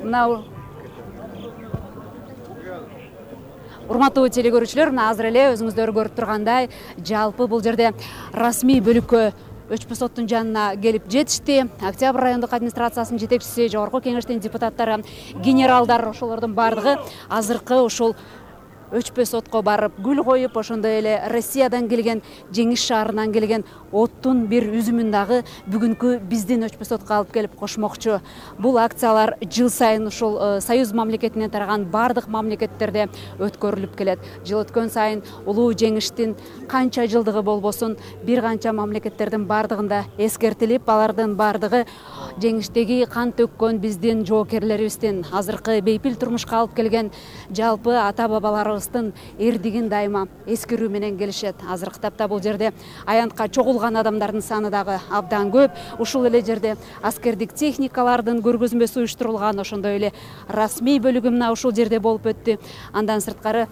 Мына урматтуу теле көрүүчүлөр, мына азыр эле өзүңүздөр көрүп тургандай, жалпы бул жерде расмий бөлүккө Өчпү соттун жанына келип жетишти. Октябрь райондук администрациясынын жетекчиси, жогорку кеңештин депутаттары, генералдар, ошолордун бардыгы азыркы ушул Өчпү сотко барып гүл коюп, ошондой эле Россиядан келген, Жеңиш шаарынан келген оттун бир үзүмүн дагы бүгүнкү биздин Өчпү сотко алып келип кошмокчу. Бул акциялар жыл сайын ушул Союз мамлекетинен тараган бардык мамлекеттерде өткөрүлүп келет. Жыл өткөн сайын улуу жеңиштин канча жылдыгы болбосун, бир канча мамлекеттердин бардыгында эскертилип, алардын бардыгы жеңиштеги кан төккөн биздин жоокерлерибиздин азыркы бейпил турмушка алып келген жалпы ата бабаларыбыздын эрдигин дайыма эскерүү менен келишет. Азыркы тапта бул жерде аянтка чогулган адамдардын саны дагы абдан көп. Ушул эле жерде аскердик техникалардын көргөзмөсү уюштурулган, ошондой эле расмий бөлүгү мына ушул жерде болуп өттү. Андан сырткары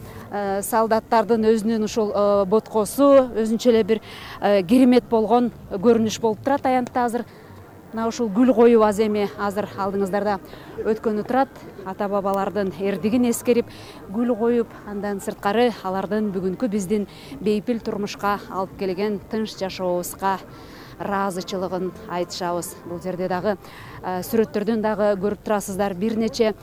солдаттардын өзүнүн ушул боткосу, өзүнчө эле бир керемет болгон көрүнүш болуп турат аянтта азыр. Мына ушул гүл коюу аземи азыр алдыңыздарда өткөнү турат. Ата бабалардын эрдигин эскерип, гүл коюп, андан сырткары алардын бүгүнкү биздин бейпил турмушка алып келген тынч жашообузга ыраазычылыгын айтышабыз. Бул жерде дагы сүрөттөрдөн дагы көрүп турасыздар, бир нече